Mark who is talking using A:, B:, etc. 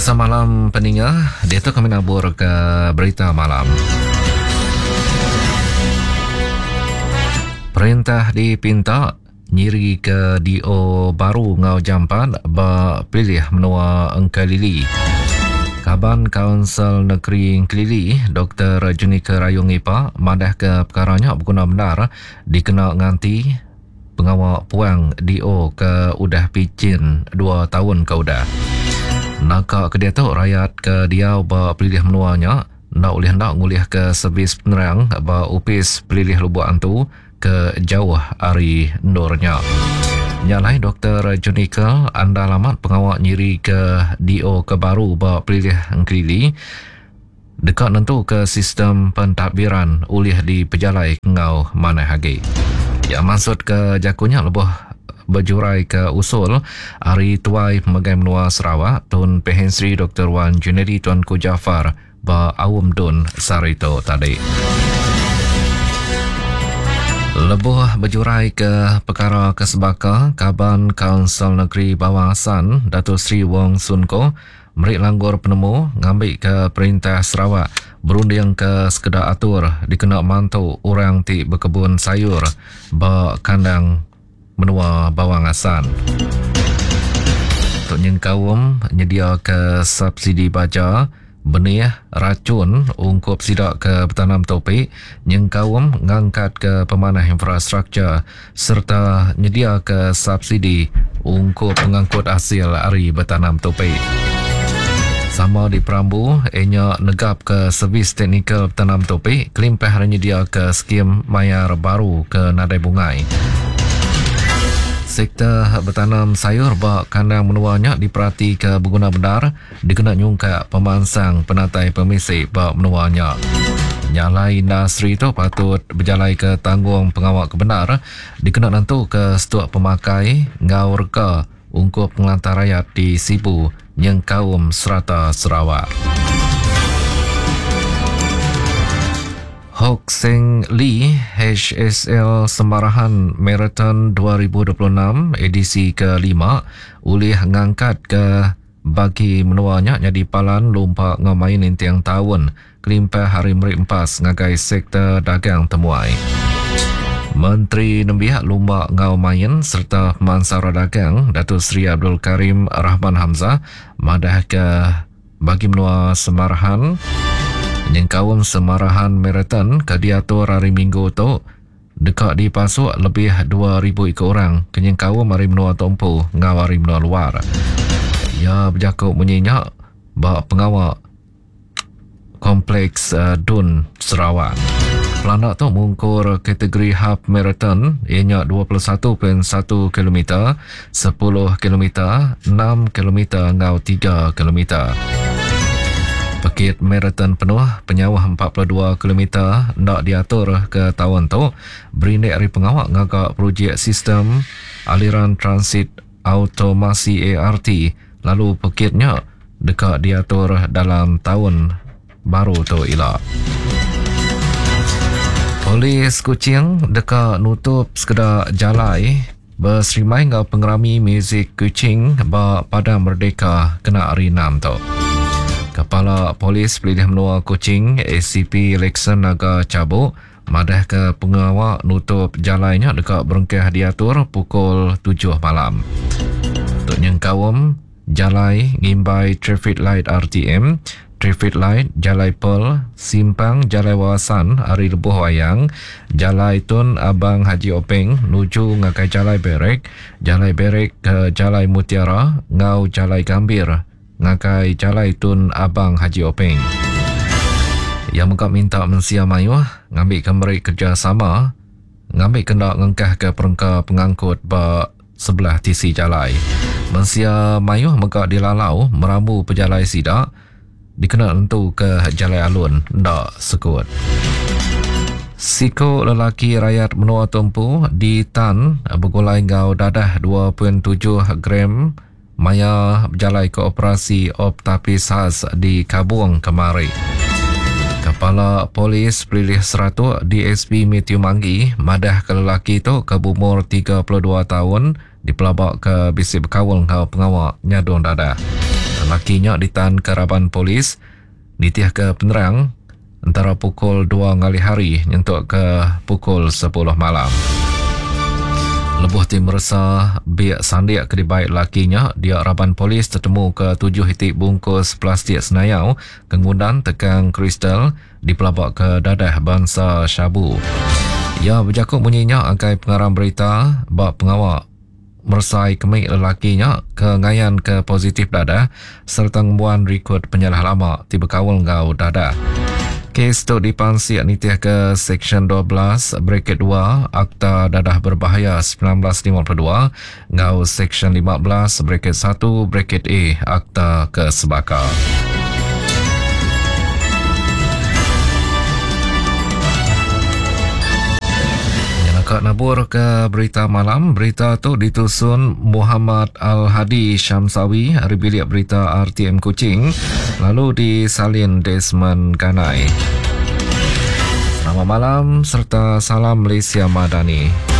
A: Semalam peninga, diatu kami nabur ke berita malam. Perintah dipinta nyiri ke DO baru enggau jampat ba pelilih menua Engkelili. Kaban Kaunsil Negeri Engkelili, Doktor Junica Rayong Ipa madahka pekara nya beguna bendar dikena nganti pengawa puang DO ke udah pichin dua taun ke udah. Naka ke diatu rayat ke diau ba pelilih menua nya enda ulih enda ngulihka servis penerang ba Opis Pelilih Lubok Antu ke jauh ari endur nya. Nya alai Doktor Junica andal amat pengawa nyirika DO ke baru ba pelilih Engkelili deka nentuka sistem pentadbiran ulih dipejalai enggau manah agi. Iya mansutka jaku nya lebuh bejuraika usul ari Tuai Pemegai Menua Sarawak Tun Pehin Sri Doktor Wan Junaidi Tuanku Jaafar ba Aum Dun sehari tu tadi. Lebuh bejuraika pekara ke sebaka, Kaban Kaunsil Negeri Bawang Assan, Dato Sri Wong Soon Koh meri langgur penemu ngambika Perintah Sarawak berundingka sekeda atur dikena mantu orang ti bekebun sayur ba kandang menua Bawang Assan. Tu nyengkaum nyediaka subsidi baja, benih, rachun ungkup sida ke betanam tupi nyengkaum ngangkatka pemanah infrastruktur sereta nyediaka subsidi ungkup pengangkut asil ari betanam tupi. Sama diperambu iya nya negapka servis teknikal betanam tupi kelimpah ari nyediaka skim mayar baru ke nadai bungai. Sektor betanam sayur ba kandang menua nya diperatika beguna bendar dikena nyungkak pemansang penatai pemisi ba menua nya. Nya alai industri tu patut bejalaika tanggung pengawa ke bendar dikena nentuka stuk pemakai enggau rega ungkup pengelantang rayat di Sibu nyengkaum serata Sarawak. Hock Seng Lee HSL Semarahan Marathon 2026 edisi kelima ulih ngangkatka bagi menua nya nyadi palan lumpa enggau main ninting taun kelimpah ari meri empas ngagai sektor dagang temuai. Menteri Nembiak Lumba enggau Main sereta Pemansang Orang Dagang Datuk Seri Abdul Karim Rahman Hamzah madahka bagi menua Semarahan nyengkaum Semarahan Marathon ke diatur hari Minggu tu deka dipasuk lebih 2000 iku orang ke nyengkaum ari menua tu empu enggau ari menua luar. Iya bejaku munyi nya ba pengawa Kompleks Dun Sarawak. Pelanda tu mungkur kategori half marathon iya nya 21.1 kilometer, 10 kilometer, 6 kilometer enggau 3 kilometer. Pekit marathon penuh penyauh 42 kilometer enda diatur ke taun tu berindik ari pengawa ngaga projek sistem aliran transit automasi ART lalu pekit nya deka diatur dalam taun baru tu ila. Polis Kuching deka nutup sekeda jalai beserimbai enggau pengerami muzik Kuching ba Padang Merdeka kena hari Enam tu. Kepala Polis Pelilih Menua Kuching ACP Lexon Naga Chabok madahka pengawa nutup jalai nya deka berengkah diatur pukul tujuh malam. Tu nyengkaum Jalai ngimbai Traffic Light RTM, Traffic Light Jalai Pearl, Simpang Jalai Wawasan ari Lebuh Wayang, Jalai Tun Abang Haji Openg nuju ngagai Jalai Barrack, Jalai Barrack ke Jalai Mutiara enggau Jalai Gambir ngagai Jalai Tun Abang Haji Openg. Iya mega minta mensia mayuh ngambika meri kerejasama ngambika enda ngengkahka perengka pengangkut ba sebelah tisi jalai. Mensia mayuh mega dilalau merambu pejalai sida dikena nentuka jalai alun enda sekut. Siku lelaki rayat menua tu empu ditan begulai enggau dadah 2.7 gram maya bejalaika operasi Op Tapis Khas di Kabong kemari. Kepala Polis Pelilih Seratok DSP Mathew Manggi madahka lelaki tu ke beumur 32 taun dipelabaka bisi bekaul enggau pengawa nyadung dadah. Lelaki nya ditanka raban polis nitihka penerang entara pukul dua ngalih hari nyentuk ke pukul sepuluh malam. Lebuh ti meresa bik sandik ke dibai lelaki nya, dia raban polis tetemuka tujuh iti bungkus plastik senayau ke ngundan tekang kristal dipelabaka dadah bansa syabu. Iya bejaku munyi nya ngagai pengarang berita ba pengawa meresai kemik lelaki nya ke ngayanka positif dadah sereta ngembuan rikod penyalah lama ti bekaul enggau dadah. Kes tu dipansik nitihka Seksyen 12 Braket 2 Akta Dadah Berbahaya 1952 enggau Seksyen 15 Braket 1 Braket A Akta ke sebaka. Ka nabur ke berita malam, berita tu ditusun Muhammad Al-Hadi Syamsawi ari bilik berita RTM Kuching lalu disalin Desmond Ganai. Selamat malam serta salam Malaysia Madani.